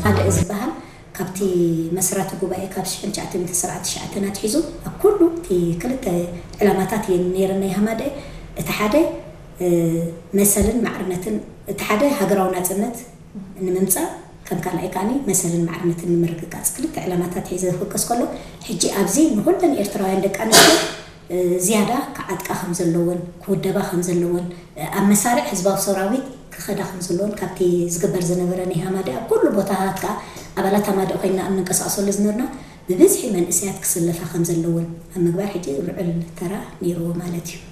ካልእ ዝበሃል ካብቲ መስራቲ ጉባኤ ካብ ሽሕን ትሽዓተ ሚእትን ሰብዓን ትሽዓተን ኣትሒዙ ኣብ ኩሉ እቲ ክልተ ዕላማታት እየን ነይረን ናይ ሃማደኤ። እቲ ሓደ መሰልን ማዕርነትን፣ እቲ ሓደ ሃገራዊ ናፅነት ንምምፃእ፣ ከም ካልኣይ ከዓኒ መሰልን ማዕርነትን ንምርግጋፅ፣ ክልተ ዕላማታት ሒዘ ዝፍከስ ከሎ፣ ሕጂ ኣብዚ ንኩለን ኤርትራውያን ደቂ ኣንስትዮ ዝያዳ ክዓጥቃ ከም ዘለወን፣ ክውደባ ከም ዘለወን፣ ኣብ መሳርዕ ህዝባዊ ሰራዊት ክኸዳ ከም ዘለወን፣ ካብቲ ዝግበር ዝነበረ ናይ ሃማደኤ ኣብ ኩሉ ቦታታት ከዓ ኣባላት ሃማደኤ ኮይና ኣብ ንንቀሳቀሰሉ ዝነበርና ብብዝሒ መንእሰያት ክስለፋ ከም ዘለወን ኣብ ምግባር ሕጂ ልዑል ተራ ነይርዎ ማለት እዩ።